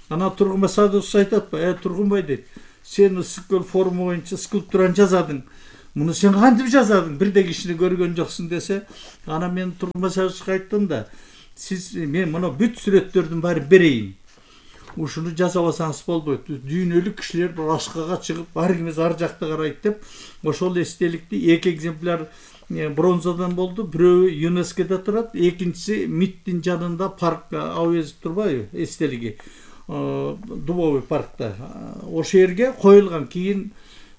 Ана Тургунбай Садыкович айтат ба, э Тургунбай дейт, сен Ысык-көл форуму боюнча скульптураны жазадың. Муну сен кантип жазадың? Бирде кишини көргөн жоксуң десе, ана мен Тургунбай Садыковичке айттым да, сиз мен мына бүт сүрөттөрдүн баарын берейин. Ушуну жазабасаңыз болбойт. Дүйнөлүк кишилер бир ашкага чыгып, бар кимиз ар жакта карайт деп, ошол эстеликти эки экземпляр бронзадан болду. Бирөө ЮНЕСКОда турат, экинчиси МИДтин жанында парк Ауезов турбайбы, эстелиги. Дубовый паркта. Ошол жерге коюлган. Кийин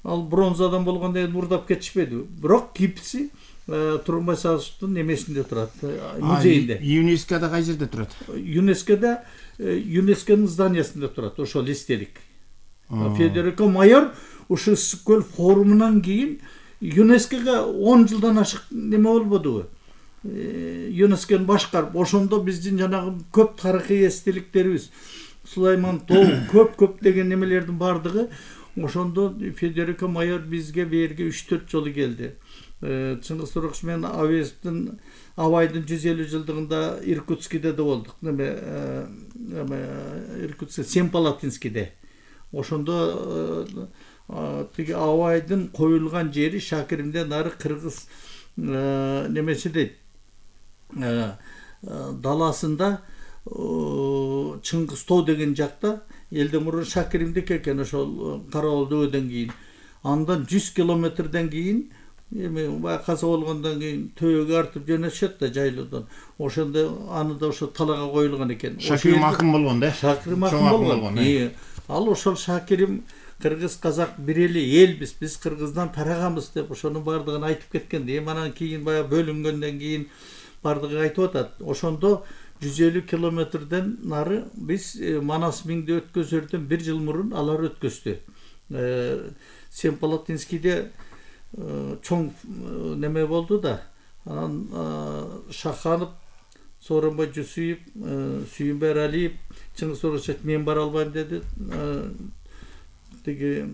ал бронзадан болгондон кийин урдап кетишпеди. Бирок гипси Тургунбай Садыковичтун немесинде турат, музейинде. ЮНЕСКОда кай жерде турат? ЮНЕСКОда ЮНЕСКОнун зданиясында турат ошол эстелик. Федерико Майор ушу Ысык-көл форумунан кийин ЮНЕСКОга он жылдан ашык неме болбодубу? ЮНЕСКону башкарып, ошондо биздин жанагы көп тарыхый эстеликтерибиз, Сулайман тоо, көп-көп деген немелердин бардыгы ошондо Федерико Майор бизге берге үч төрт жолу келди. Чыңгыз Торокчу менен Авезовдун Абайдын жүз элүү жылдыгында Иркутскиде да болдук. Неме Иркутск Семипалатинскиде. Ошондо тиги Абайдын коюлган жери Шакиримден нары кыргыз немеси дейт. Даласында Чыңгыз тоо деген жакта элден мурун Шакиримдики экен ошол Карабал дөбөдөн кийин. Андан жүз километрден кийин эми баягы каза болгондон кийин төбөгө артып жөнөтүшөт да жайлоодон. Ошондо аны да ошо талага коюлган экен. Шакирим акын болгон да. Шакирим акын болгон. Ал ошол Шакирим кыргыз казак бир эле элбиз, биз кыргыздан тарагамыз деп ошонун бардыгын айтып кеткен. Эми анан кийин баягы бөлүнгөндөн кийин бардыгы айтып атат. Ошондо жүз элүү километрден нары биз Манас миңди өткөзөрдөн бир жыл мурун алар өткөздү. Семипалатинскийде чоң неме болду да, анан Шаханов, Сооронбай Жусуев, Сүйүнбай Эралиев, Чыңгыз Торокчу мен бара албайм деди. Тиги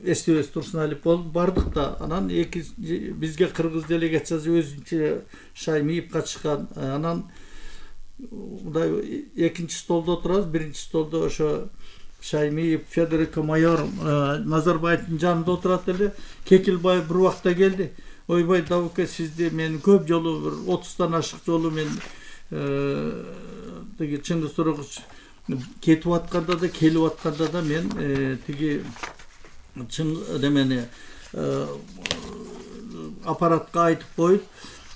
Эстебес Турсуналиев болуп бардык да, анан эки бизге кыргыз делегациясы өзүнчө Шаймиев катышкан. Анан мындай экинчи столдо отурабыз, биринчи столдо ошо Шаймиев, Федерико Майор, Назарбаевдин жанында отурат эле. Кекилбаев бир убакта келди. Ойбай Давыке, сизди мен көп жолу бир отуздан ашык жолу мен тиги Чыңгыз Торокчу кетип атканда да, келип атканда да мен тиги чын немени аппаратка айтып коюп,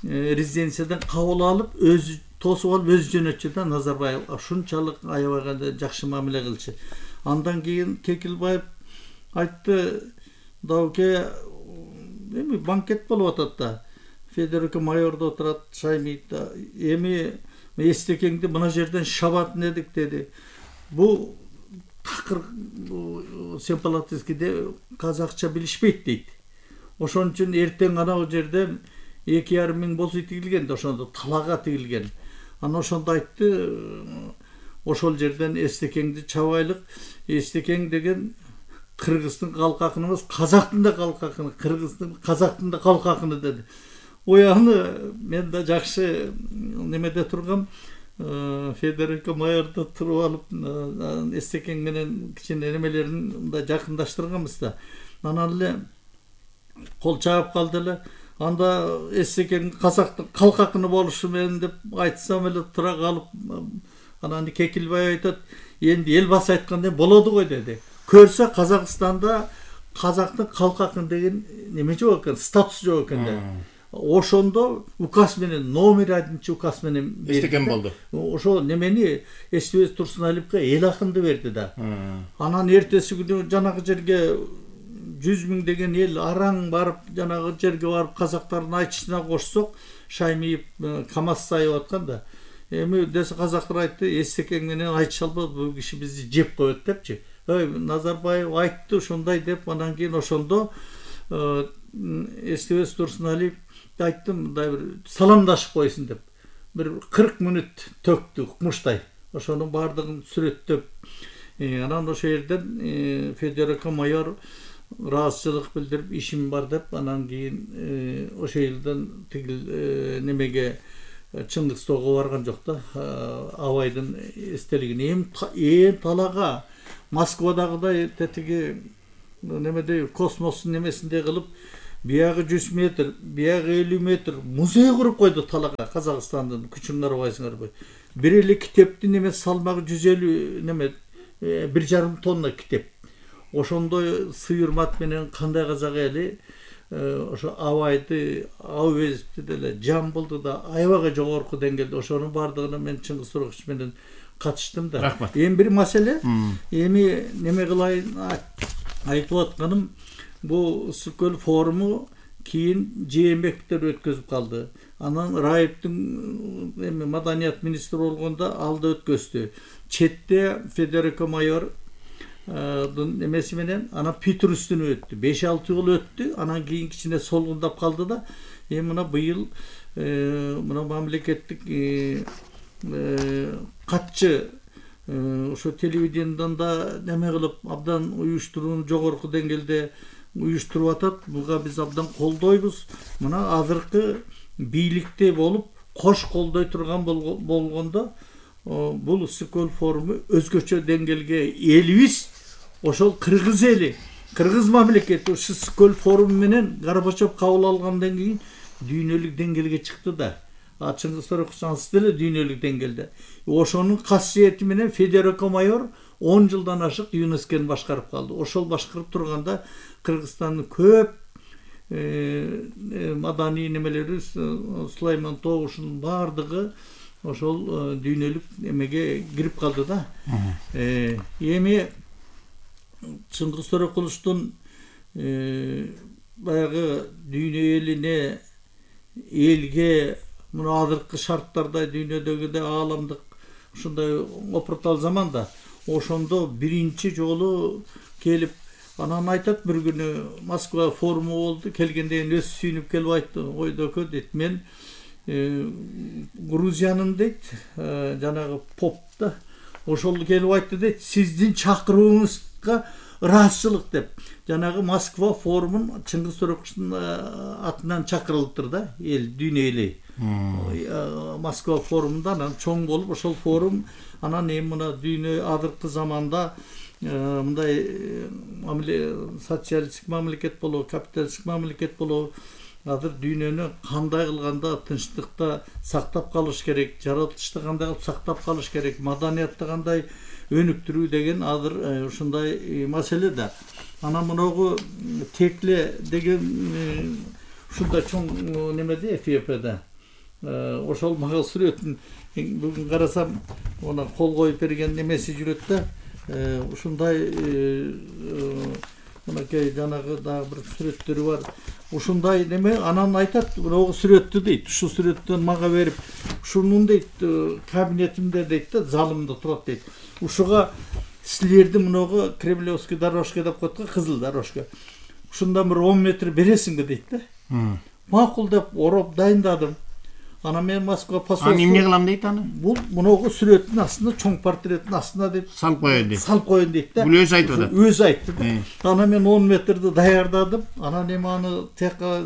резиденциядан кабыл алып, өзү тосуп алып, өзү жөнөтчү да Назарбаев. Ушунчалык аябаганда жакшы мамиле кылчу. Андан кийин Кекилбаев айтты, Дауке, эми банкет болуп атат да. Федерико Майордо отурат, Шаймиев да. Эми эстекеңди мына жерден шабатын эдик деди. Бу такыр Семипалатинскийде казакча билишпейт дейт. Ошон үчүн эртең анау жерден эки жарым миң боз үй тигилген да, ошондо талага тигилген. Ана ошондо айтты, ошол жерден эстекеңди чабайлык. Эстекең деген кыргыздын калк акыны эмес, казактын да калк акыны, кыргыздын, казактын да калк акыны деди. Ой, аны мен да жакшы немеде тургам, Федерико Майордо туруп алып, эстекең менен кичине немелерин мындай жакындаштырганбыз да. Анан эле кол чаап калды эле. Анда эстекең казактын калк акыны болушу менен деп айтсам эле тура калып, анан Кекилбай айтат, энди эл басы айткандай болоду го деди. Көрсө Казакстанда казактын калк акыны деген неме жок экен, статус жок экен да. Ошондо указ менен, номер одинчи указ менен эстекен болду. Ошо немени Эстебес Турсуналиевке эл акынды берди да. Анан эртеси күнү жанагы жерге жүз миң деген эл араң барып, жанагы жерге барып казактардын айтышына кошсок, Шаймиев КамАЗ сайып аткан да. Эми десе казактар айтты, эстекең менен айтыша албайбыз, бул киши бизди жеп коет депчи. Ой, Назарбаев айтты ушундай деп, анан кийин ошондо Эстебес Турсуналиев айттым мындай бир саламдашып койсун деп бир кырк мүнөт төктү муштай. Ошонун баардыгын сүрөттөп, анан ошол жерден Федерака майор ыраазычылык билдирип ишим бар деп, анан кийин ошол жерден тигил немеге Чыңгыстоого барган жок да, абайдын эстелигине. Эми эми талага Москвадагыдай тетиги немедей космостун немесиндей кылып, биягы жүз метр, биягы элүү метр музей куруп койду талага. Казакстандын күчүн карабайсыңарбы? Бир эле китептин неме салмагы жүз элүү неме бир жарым тонна китеп. Ошондой сыйырмат менен кандай казак эли ошо абайды, Абуезовду деле, Жамбылды да аябай жогорку деңгээлде ошонун баардыгына мен Чыңгыз Торокович менен катыштым да. Рахмат. Эми бир маселе, эми неме кылайын айтып атканым, бул Ысык-Көл форуму кийин Жээнбековдер өткөзүп калды. Анан Раевдин эми маданият министри болгондо алда өткөздү. Четте Федерака майор немеси менен анан Питрустун өттү. беш алты жыл өттү. Анан кийин кичине солгундап калды да. Эми мына быйыл мына мамлекеттик катчы ошо телевидениедан да неме кылып абдан уюштурууну жогорку деңгээлде уюштуруп атат. Буга биз абдан колдойбуз. Мына азыркы бийликте болуп кош колдой турган болгондо бул Ысык-Көл форуму өзгөчө деңгээлге элибиз ошол кыргыз эли, кыргыз мамлекети ушул Ысык-Көл форуму менен Горбачев кабыл алгандан кийин дүйнөлүк деңгээлге чыкты да. А Чыңгыз Торокович ансыз деле дүйнөлүк деңгээлде. Ошонун касиети менен Федерака майор он жылдан ашык ЮНЕСКОну башкарып калды. Ошол башкарып турганда Кыргызстандын көп маданий немелери, Сулайман Тогушунун баардыгы ошол дүйнөлүк эмеге кирип калды да. Эми Чыңгыз Торокулуштун баягы дүйнө элине, элге мына азыркы шарттарда дүйнөдөгүдөй ааламдык ушундай опуртал заманда ошондо биринчи жолу келип, анан айтат бир күнү Москва форуму болду, келгенде өз сүйүнүп келип айтты, ойдоке дейт, мен Грузиянын дейт, жанагы поп да, ошол келип айтты дейт, сиздин чакырууңузга ыраазычылык деп. Жанагы Москва форумун Чыңгыз Тороковичтун атынан чакырылыптыр да, эл, дүйнө эли. Москва форумунда анан чоң болуп, ошол форум анан эми мына дүйнө азыркы заманда мындай социалисттик мамлекет болобу, капиталисттик мамлекет болобу, азыр дүйнөнү кандай кылганда тынчтыкта сактап калыш керек, жаратылышты кандай кылып сактап калыш керек, маданиятты кандай өнүктүрүү деген азыр ушундай маселе да. Анан мынагу Текле деген ушундай чоң немеде Эфиопияда. Ошол мага сүрөтүн бүгүн карасам, она кол коюп берген немеси жүрөт да. Ушундай мынакей жанагы дагы бир сүрөттөрү бар. Ушундай неме, анан айтат, мынагу сүрөттү дейт, ушул сүрөттөн мага берип, ушунун дейт кабинетимде дейт да, залымда турат дейт. Ушуга силерди мынагу Кремлевский дорожка деп коет го, кызыл дорожка. Ушундан бир он метр бересиңби дейт да. Макул деп ороп дайындадым. Анан мен Москва посольство. Аны эмне кылам дейт аны? Бул мынагу сүрөттүн астына, чоң портреттин астына деп салып коёюн дейт. Салып коёюн дейт да. Бул өзү айтып атат. Өзү айтты да. Анан мен он метрди даярдадым. Анан эми аны текка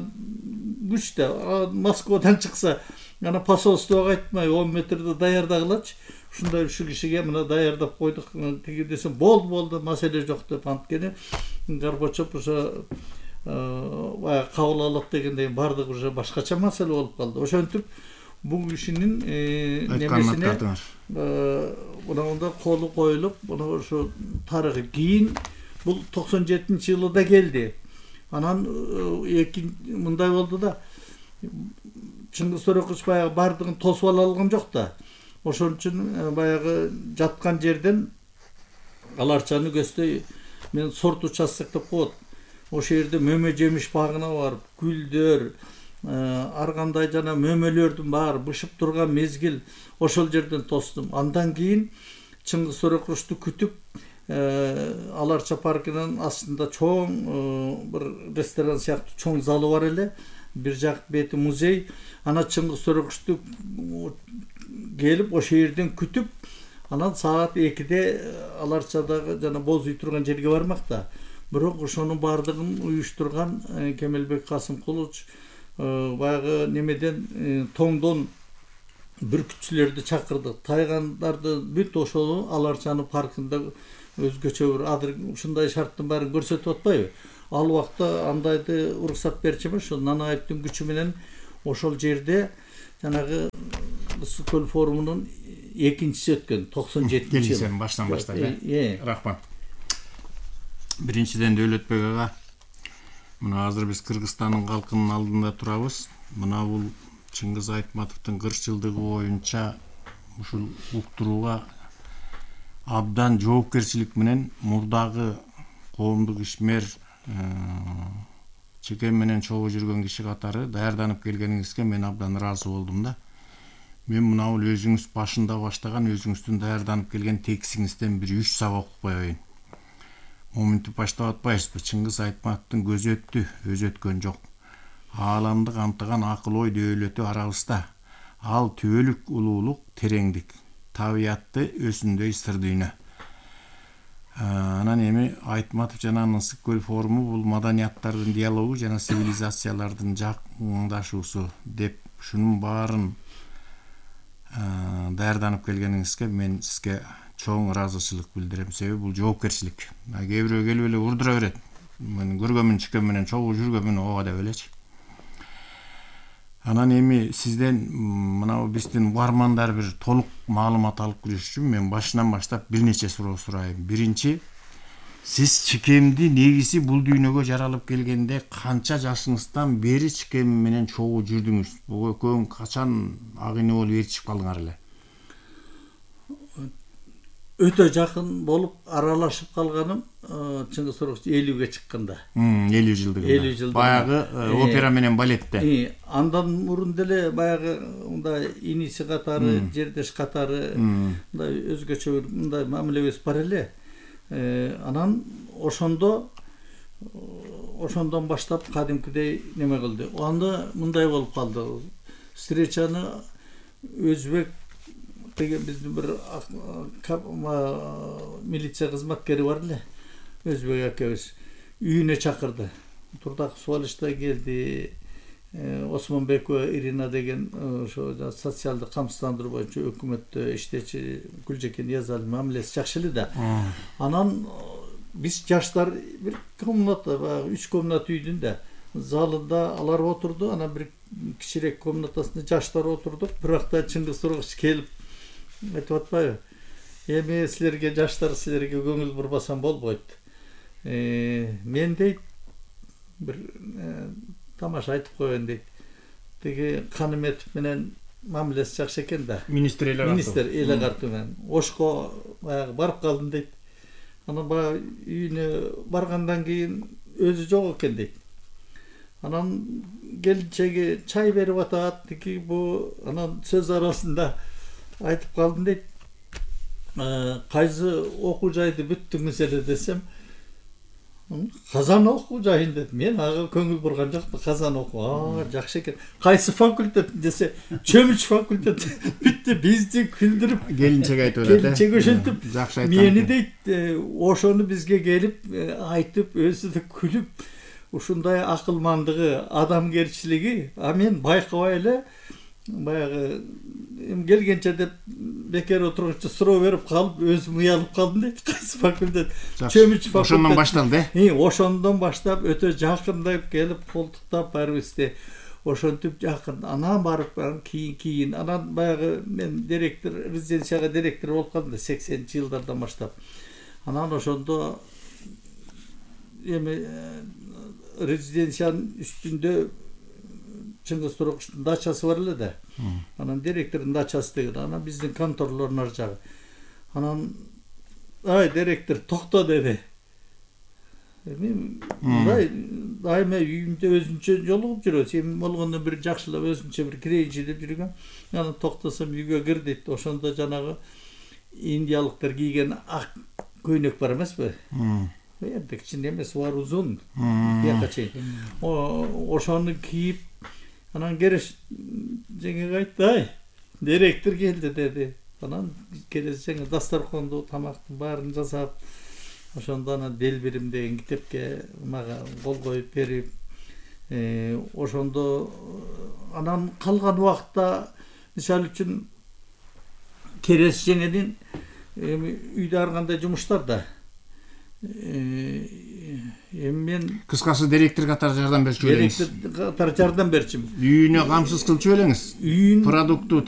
күчтө Москвадан чыкса, ана посольствого айтмай он метрди даярдагылачы. Ушундай ушу кишиге мына даярдап койдук. Тиги десем, болду, болду, маселе жок деп анткени Горбачев ошо баягы кабыл алат дегендей баардыгы уже башкача маселе болуп калды. Ошентип бул кишинин немесине мындай колу коюлуп, мына ошо тарыхы кийин бул токсон жетинчи жылда келди. Анан эки мындай болду да. Чыңгыз Торокович баягы баардыгын тосуп ала алган жок да. Ошон үчүн баягы жаткан жерден аларчаны көздөй мен сорт участок деп коет. Ошол жерде мөмө жемиш багына барып, гүлдөр, ар кандай жана мөмөлөрдүн баары бышып турган мезгил ошол жерден тостум. Андан кийин Чыңгыз Тороковичту күтүп, Аларча паркынын астында чоң бир ресторан сыяктуу чоң залы бар эле. бир жак бети музей. Ана Чыңгыз Төрөкүчтү келип ошол жерден күтүп, анан саат экиде Аларчадагы жана боз үй турган жерге бармак да. Бирок ошонун баардыгын уюштурган Кемелбек Касымкулович баягы немеден тоңдон бүркүтчүлөрдү чакырды. Тайгандарды бүт ошол Аларчанын паркында өзгөчө бир адыр ушундай шарттын баарын көрсөтүп атпайбы? Ал убакта андайды уруксат берчү эмес, ошол Нанаевдин күчү менен ошол жерде жанагы Ысык көл форумунун экинчиси өткөн токсон жетинчи жылы. Баштан баштап, э? Рахмат. Биринчиден Дөөлөтбек ага, мына азыр биз Кыргызстандын калкынын алдында турабыз. Мына бул Чыңгыз Айтматовдун кырк жылдыгы боюнча ушул уктурууга абдан жоопкерчилик менен мурдагы коомдук ишмер чекем менен чогуу жүргөн киши катары даярданып келгениңизге мен абдан ыраазы болдум да. Мен мына бул өзүңүз башында баштаган, өзүңүздүн даярданып келген текстиңизден бир үч сабак окуп коеюн. Моминтип баштап атпайбызбы? Чыңгыз Айтматовдун көзү өттү, өзү өткөн жок. Ааламды камтыган акыл ой дөөлөтү арабызда. Ал түбөлүк улуулук, тереңдик, табиятты өсүндөй сыр дүйнө. Анан эми Айтматов жана Ысык көл форуму бул маданияттардын диалогу жана цивилизациялардын жакындашуусу деп ушунун баарын даярданып келгениңизге мен сизге чоң ыраазычылык билдирем. Себеби бул жоопкерчилик. Кээ бирөө келип эле урдура берет. Мен көргөмүн, чекем менен чогуу жүргөмүн, ого деп элечи. Анан эми сизден мына биздин угармандар бир толук маалымат алып кириш үчүн мен башынан баштап бир нече суроо сурайын. Биринчи, сиз чекемди негизи бул дүйнөгө жаралып келгенде канча жашыңыздан бери чекем менен чогуу жүрдүңүз? Бул экөөң качан агыйны болуп ээрчип калдыңар эле? Өтө жакын болуп аралашып калганым Чыңгыз Төрөкүч элүүгө чыкканда. элүү жылдыгында. элүү жылдыгында. Баягы опера менен балетте. Андан мурун деле баягы мындай иниси катары, жердеш катары мындай өзгөчө бир мындай мамилебиз бар эле. Анан ошондо ошондон баштап кадимкидей неме кылды. Анда мындай болуп калды. Встречаны өзбек деген биздин бир милиция кызматкери бар эле, өзбек акебиз үйүнө чакырды. Турдак Суалышта келди, Осмонбекова Ирина деген ошо социалдык камсыздандыруу боюнча өкмөттө иштечи Гүлжекен Язаль мамилеси жакшы эле да. Анан биз жаштар бир комната, баягы үч комната үйдүн да залында алар отурду, анан бир кичирээк комнатасында жаштар отурдук. Бирок да Чыңгыз Төрөкүч келип айтып атпайбы? Эми силерге жаштар силерге көңүл бурбасам болбойт. Мен дейт бир тамаша айтып коеюн дейт. Тиги Каныметов менен мамилеси жакшы экен да. Министр эле Министр эле картуу менен Ошко баягы барып калдым дейт. Анан баягы үйүнө баргандан кийин өзү жок экен дейт. Анан келинчеги чай берип атат, тиги бу анан сөз арасында айтып калдым дейт. Кайсы окуу жайды бүттүңүз эле десем, Казан окуу жайын деп. Мен ага көңүл бурган жокмун. Казан окуу. Аа, жакшы экен. Кайсы факультет десе, Чөмүч факультет. Бүтті бизди күлдүрүп келинчеге айтып атат. Келинчеге ошентип жакшы айткан. Мени дейт, ошону бизге келип айтып, өзү да күлүп, ушундай акылмандыгы, адамгерчилиги, а мен байкабай эле баягы келгенче деп бекер отургучу суроо берип калып, өзүм уялып калдым дейт. Кайсы факультет? Чөмүч факультет. Ошондон башталды, э? Ошондон баштап өтө жакындап келип, колтуктап барыбызды ошентип жакын. Анан барып кийин кийин анан баягы мен директор, резиденцияга директор болуп калдым да сексенинчи жылдардан баштап. Анан ошондо эми резиденциянын үстүндө Чыңгыз Төрөкүчтүн дачасы бар эле да. Анан директордун дачасы деген, анан биздин конторлордун ар жагы. Анан ай директор токто деди. Эми мындай дайыма үйүмдө өзүнчө жолугуп жүрөбүз. Эми болгондо бир жакшылап өзүнчө бир кирейинчи деп жүргөн. Анан токтосом үйгө кир дейт. Ошондо жанагы индиялыктар кийген ак көйнөк бар эмеспи? Эми кичине эмес, бар узун. Бияка чейин. Ошону кийип Анан Кереш жеңеге айтты, ай, директор келди деди. Анан Кереш жеңе дастарханды, тамактын баарын жасап, ошондо анан Делбирим деген китепке мага кол коюп берип, ошондо анан калган убакытта мисалы үчүн Кереш жеңенин үйдө ар кандай жумуштар да. Эми мен кыскасы директор катары жардам берчү элеңиз. Директор катары жардам берчүмүн. Үйүнө камсыз кылчу элеңиз. Үйүн продукту